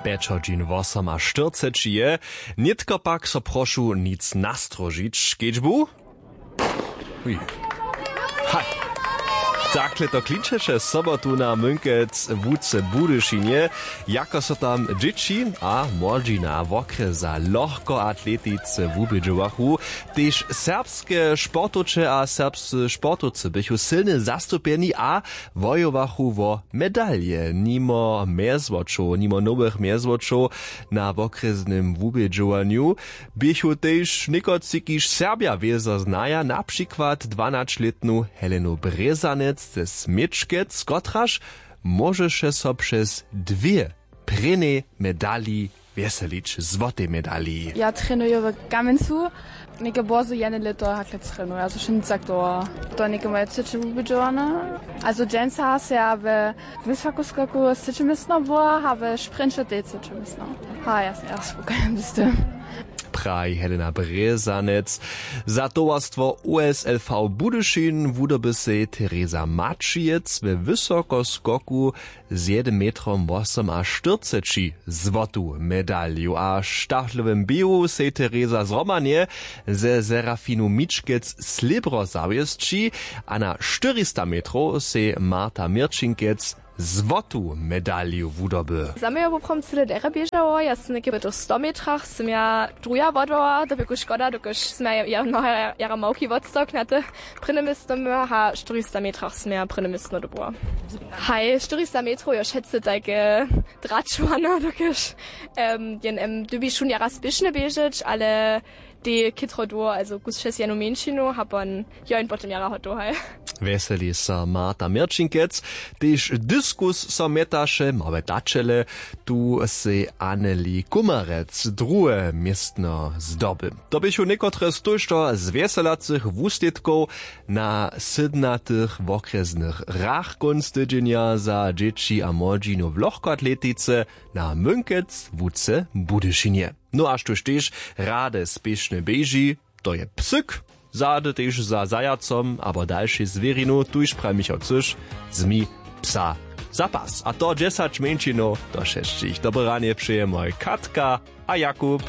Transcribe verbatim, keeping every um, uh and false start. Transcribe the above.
Pjeć hodźin wosom a štyrceći je. Nětko pak so prošu nic nastrožić kedźbu. Ui. Haj. Takle to klinčeše sobotu na mynkec łuce w budyšinje, jako so tam dźěći a młodźina wokrjeza lochkoatletice wubědźowachu. Tež serbske sportowče a serbscy sportowcy běchu sylnje zastupjeni a wojowachu wo medalje. Nimo mjezwočow nimo nowych mjezwočow na wokrjesnym wubědźowanju běchu tež někotři kiž serbja wězo znaja na přikład dwanaćlětnu helenu brězanec ze směčkec kotraž móžeše so přez dwě prěnjej medali wjeselić złotej medali. Ja trenuju w kamjencu. Něke bórze jedne lěto hakle trenuju, also wšě nic tak dołho. To něke moje třeće wubědźowane. Also dźensa se ja we wysokoskoku třeće městno była a we sprinće tež třeće městno. A ja sej ja spokojny z tym. Praji helena brězanec. Za towarstwo usl v budyšin wudoby sej teresa maćijec we wysokoskoku z jednym metrom wosom a štyrceći złotu medalju a w štaflowym běhu sej teresa zhromadnje ze serafinu mičkec slěbro zawěsći a na štyrista metrow sej marta měrčinkec złotu medalju wudoby. Za mnje je woprawom cyle derje běžało, ja sym něke w tych sto metrach sym ja druha wodała, to bě škoda dokelž sym ja jara małki wotstawk na te prěnje městno měła a štyrista metrach sym ja prěnje městno dobyła. Haj, štyrista metrow jo wšetcy tajke dračowano dokelž jen em dybiš wón jara spěšnje běžeć ale tej chětro dołho, also kus přez jednu mjeńšinu a pon jo jen potom jara hotow haj. Wjeseli so marta měrčinkec. Tež diskus so mjetaše małe daćele. Tu sej anneli kumarec druhe městno zdoby. To běchu někotre z tójšto zwjeselacych wuslědkow na sydnatych wokrjesnych hrach kónc tydźenja za dźěći a młodźinu w lochkoatletice na mynkec łuce w budyšinje. No a štóž tež rady spěšnje běži, to je psyk. Zady tež za zajacom abo dalšej zwěrinu tuž praji michał cyš, zmi psa za pas a to dźesać mjeńšinow do šesćich dobre ranje přeje moj katka a jakub.